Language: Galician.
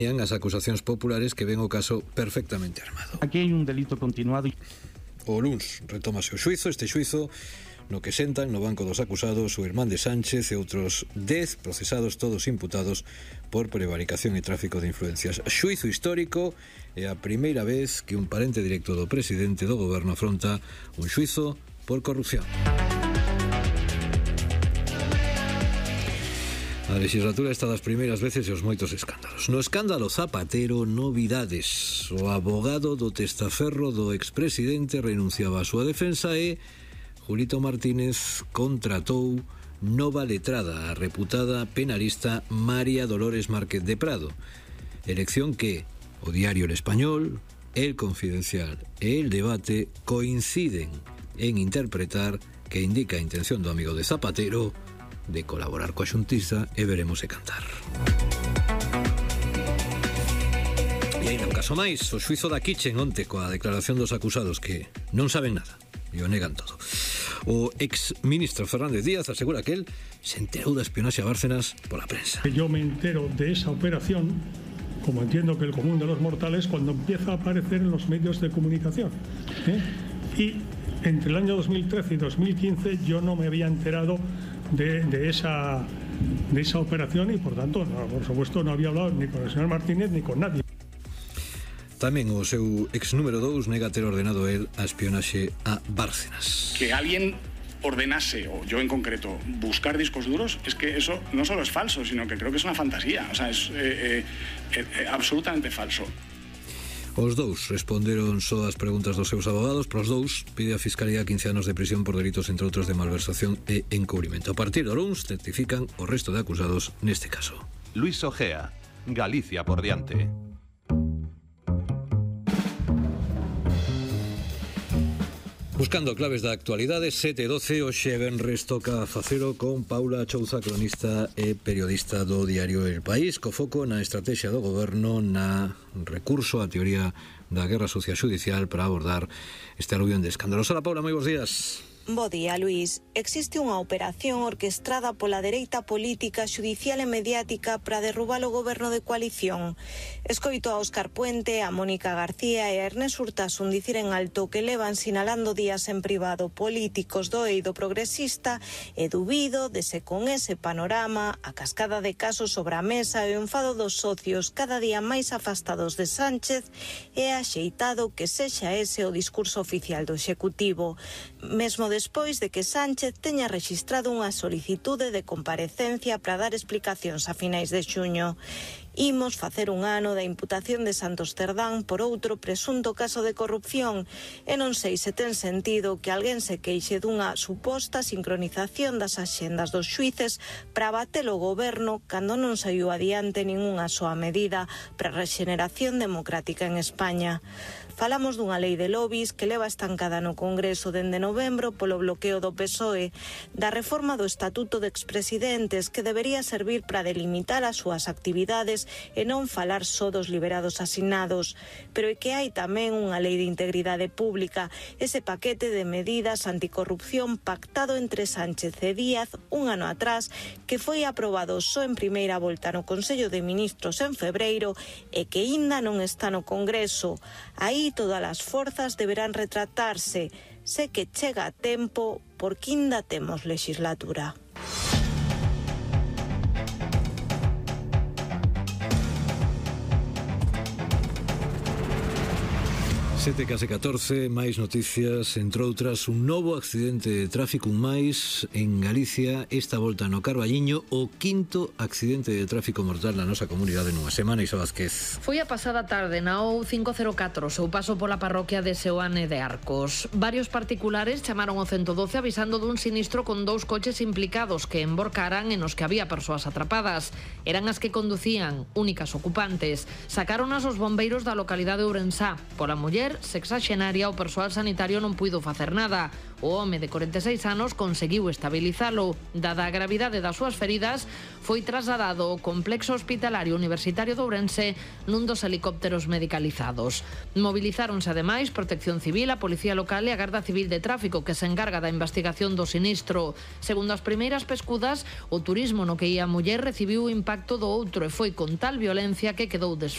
As acusacións populares que ven o caso perfectamente armado. Aquí hai un delito continuado. O luns retómase o xuizo, este xuizo no que sentan no banco dos acusados o irmán de Sánchez e outros 10 procesados, todos imputados por prevaricación e tráfico de influencias. Xuizo histórico é a primeira vez que un parente directo do presidente do goberno afronta un xuizo por corrupción. A legislatura está das primeiras veces e os moitos escándalos. No escándalo Zapatero, novidades. O abogado do testaferro do expresidente renunciaba a súa defensa e Julito Martínez contratou nova letrada, a reputada penalista María Dolores Márquez de Prado. Elección que o diario El Español, El Confidencial e El Debate coinciden en interpretar que indica a intención do amigo de Zapatero de colaborar coa xustiza e veremos e cantar. E aí un caso máis, o xuizo da Kitchen onte coa declaración dos acusados que non saben nada e o negan todo. O ex-ministro Fernández Díaz asegura que él se enterou da espionaxe a Bárcenas pola prensa. Yo me entero de esa operación, como entiendo que el común de los mortales, cuando empieza a aparecer en los medios de comunicación. Y entre el año 2013 y 2015 yo no me había enterado de esa operación y por tanto, por supuesto, no había hablado ni con el señor Martínez ni con nadie. Tamén o seu ex número 2 nega ter ordenado el a espionaxe a Bárcenas. Que alguien ordenase, o yo en concreto, buscar discos duros, es que eso no solo es falso, sino que creo que es una fantasía. O sea, es absolutamente falso. Os dous responderon só as preguntas dos seus abogados. Para os dous pide a Fiscalía 15 anos de prisión por delitos, entre outros, de malversación e encubrimento. A partir do luns certifican o resto de acusados neste caso. Luis Ojea, Galicia por diante. Buscando claves da actualidade, 7:12, hoxe venres toca facelo con Paula Chouza, cronista e periodista do diario El País, co foco na estrategia do goberno, na recurso á teoría da guerra sucia xudicial para abordar este aluvión de escándalos. Hola, Paula, moi bons días. Bo día, Luís. Existe unha operación orquestrada pola dereita política, xudicial e mediática para derrubar o goberno de coalición. Escoito a Óscar Puente, a Mónica García e a Ernest Urtasun dicir en alto que levan sinalando días en privado políticos do eido progresista e dubido de se con ese panorama, a cascada de casos sobre a mesa e o enfado dos socios cada día máis afastados de Sánchez, é axeitado que sexa ese o discurso oficial do Executivo. Mesmo despois de que Sánchez teña rexistrado unha solicitude de comparecencia para dar explicacións a finais de xuño. Imos facer un ano da imputación de Santos Cerdán por outro presunto caso de corrupción e non sei se ten sentido que alguén se queixe dunha suposta sincronización das axendas dos xuíces para bater o goberno cando non saiu adiante ningunha soa medida para a rexeneración democrática en España. Falamos dunha lei de lobbies que leva estancada no Congreso dende novembro polo bloqueo do PSOE, da reforma do Estatuto de Expresidentes que debería servir para delimitar as súas actividades e non falar só dos liberados asignados, pero é que hai tamén unha lei de integridade pública, ese paquete de medidas anticorrupción pactado entre Sánchez e Díaz un ano atrás, que foi aprobado só en primeira volta no Consello de Ministros en febreiro e que aínda non está no Congreso. Aí todas as forzas deberán retratarse. Sé que chega a tempo porque aínda temos legislatura. 7:14, máis noticias, entre outras, un novo accidente de tráfico, un máis en Galicia, esta volta no Carballiño, o quinto accidente de tráfico mortal na nosa comunidade nunha semana. Iso Vázquez. Foi a pasada tarde na O504, seu paso pola parroquia de Seoane de Arcos. Varios particulares chamaron o 112 avisando dun sinistro con 2 coches implicados que emborcaran e nos que había persoas atrapadas. Eran as que conducían, únicas ocupantes. Sacaronas os bombeiros da localidade de Ourensá. Pola muller muller, sexaxenaria, o persoal sanitario non puido facer nada. O home de 46 anos conseguiu estabilizalo. Dada a gravidade das súas feridas, foi trasladado ao complexo hospitalario universitario de Ourense nun dos helicópteros medicalizados. Movilizáronse ademais Protección Civil, a Policía Local e a Garda Civil de Tráfico, que se encarga da investigación do sinistro. Segundo as primeiras pescudas, o turismo no que ia a muller recibiu o impacto do outro e foi con tal violencia que quedou desfeito.